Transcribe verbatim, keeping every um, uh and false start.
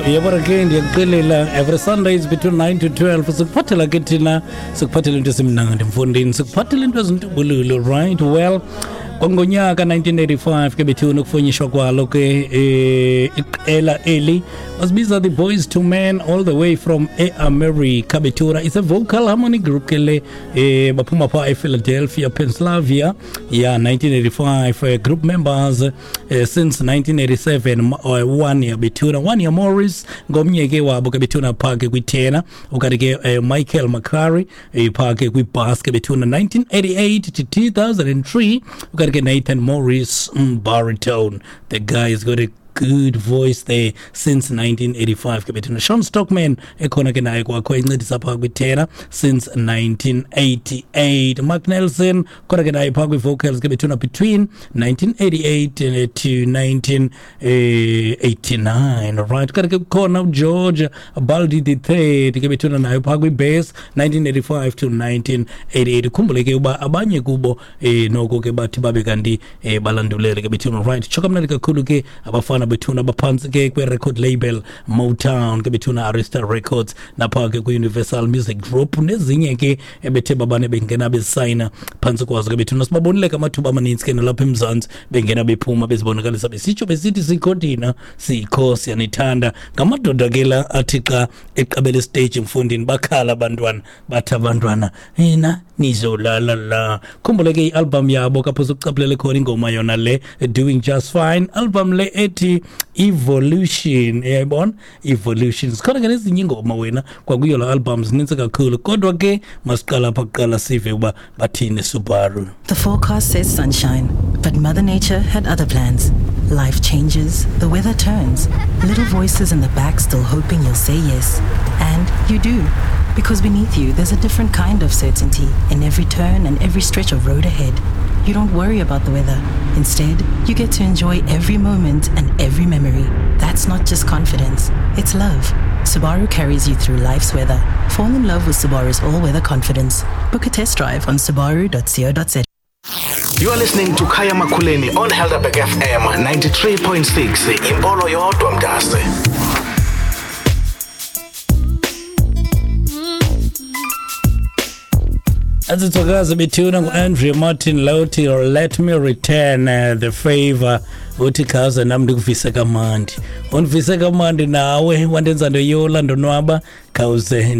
Yabona ke, ndiyakuxelela, every Sundays between nine to twelve sikuphathela ke thina, sikuphathela into esimnandi mfondini, sikuphathela into ezintubululu, right? Well, kwangonyaka nineteen eighty-five ke bethuna ukufunyishwa kwalo ke eh, iqela eli basibiza the Boys to Men, all the way from e-America bethuna. It's a vocal harmony group ke le, eh, baphuma phaa ePhiladelphia, Pennsylvania. Yeah, nineteen eighty-five, uh, group members uh, since nineteen eighty-seven, uh, one year bethuna, Wanya Morris ngomnye ke wabo ke bethuna phaa ke kwithena, ukanti ke uh, Michael McCary eh, phaa ke kwibass ke bethuna nineteen eighty-eight to two thousand three, ukanti ke Nathan Morris, mm, baritone. The guy has got a good voice there since nineteen eighty-five ke bethuna. Shawn Stockman ekhona ke naye kwakho encedisa phaa kwithena since nineteen eighty-eight. Mark Nelson khona ke naye phaa kwi-vocals ke bethuna between nineteen eighty-eight to nineteen eighty-nine, right? Kanti ke kukhona uGeorge Baldi the third ke bethuna naye phaa kwi-bass nineteen eighty-five to nineteen eighty-eight. Khumbule ke uba abanye kubo eh, noko ke bathi babe kanti eh, balandulele ke bethuna, right? Tsho kamnandi kakhulu ke abafana bethuna abaphantsi ke kwe-record label Motown ke bethuna, Arista Records, napha ke kwi-Universal Music Group nezinye ke ebethe babane bengena besayina phantsi kwazo ke bethuna. Sibabonile ke amathuba amaninzi ke nalapha eMzantsi bengena bephuma bezibonakalisa besitsho besithi sikho thina, sikho, siyanithanda. Ngamadoda ke la athi xa eqabele stage mfundini bakhala abantwana, bathi abantwana yena nizolala la. Khumbule ke i-album yabo kapho sokucaphulele khona ingoma yona le Doing Just Fine, album le ethi Evolution, uyayibona Evolution. Sikhona ke nezinye ingoma wena kwakuyo la album, zininzi kakhulu, kodwa ke masiqala apha kuqala sive uba bathini Subaru. The forecast says sunshine, but Mother Nature had other plans. Life changes, the weather turns, little voices in the back still hoping you'll say yes. And you do. Because beneath you, there's a different kind of certainty in every turn and every stretch of road ahead. You don't worry about the weather. Instead, you get to enjoy every moment and every memory. That's not just confidence, it's love. Subaru carries you through life's weather. Fall in love with Subaru's all-weather confidence. Book a test drive on subaru dot co dot za. You are listening to Khaya Makhuleni on Helderberg F M ninety-three point six. Impolo yodwa mntase. Azithokazi bethuna ngu-Andrea Martin Loti, Let Me Return uh, the Favor. Uthi khaze nam ndikuvise kamandi, undivise kamandi nawe wandenza ndoyola ndonwaba, khawuze.